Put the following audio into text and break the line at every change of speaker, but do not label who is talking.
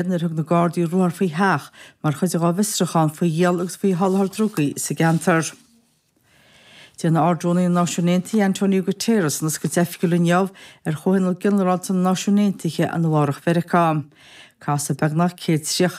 Nuair a thug na Gardaí ruathar faoi theach mar chuid dhá bhfiosrúchán faoi dhíol agus faoi sholáthar drugaí sa gceantar. Déanfaidh Ard-Rúnaí na Náisiún Aontaithe Antonio Guterres an oscailt oifigiúil inniu ar Chomhthionól Ginearálta na Náisiún Aontaithe i Nua Eabhrac Mheiriceá. Casfaidh beagnach 130.